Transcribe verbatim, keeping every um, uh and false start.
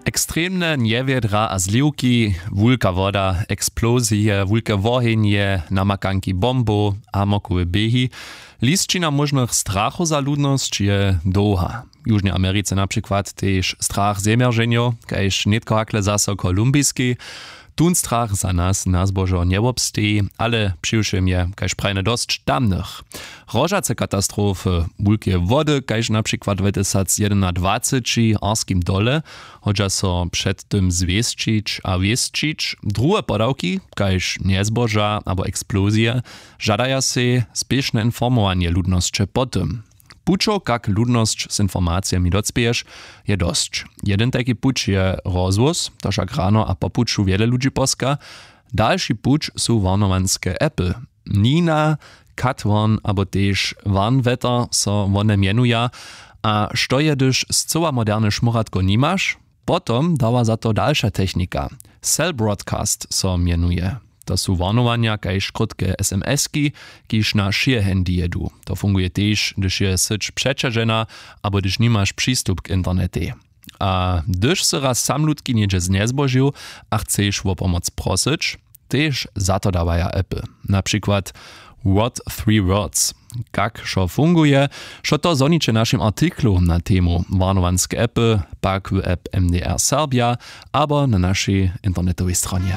Ekstremne njewjedra a zliwki, wulka woda, eksplozije, wulke wohenje, namakanki bombow a mokowe běhi. Lisćina móžnych strachow za ludnosć je dołha. W južnej americe na přikład tež strach zemjerženjow, kaž nětko hakle zaso w kolumbiskej. Tón strach za nas na zbožo njewobsteji, ale přiwšěm je kaž prajne dosć tamnych. Rožace katastrofy, wulkeje wody kaž na přikład dwatysacjedynadwaceći w arskim dole, hodźa so před tym zwěsćić a wěsćić. Druhe podawki kaž njezboža abo eksplozije žadaja sej spěšne informowanje ludnosće po tym. Pućow kak ludnosć z informacijemi docpěješ, je dosć. Jedyn tajki puć je rozhłós, to wšak rano a po puću wjele ludźi poska. Dalši puć su warnowanske appy. Nina, Katwarn abo tež Warnwetter so wone mjenuja. A što je hdyž scyła moderne šmóratko nimaš? Potom dawa za to dalša technika. Cell broadcast so mjenuje. To su warnowanja kaž krótke sms-ki, kiž na wšě handy jedu. To funguje tež hdyž je syć přećažena abo hdyž nimaš přistup k internetej. A hdyž sy raz samlutki něhdźe znjezbožił a chceš wo pomoc prosyć, tež za to dawaja appy, na přikład what three words. Kak wšo funguje, wšo to zhoniće w našim artiklu na temu warnowanske appy, pak w app mdr serbja abo na našej internetowej stronje.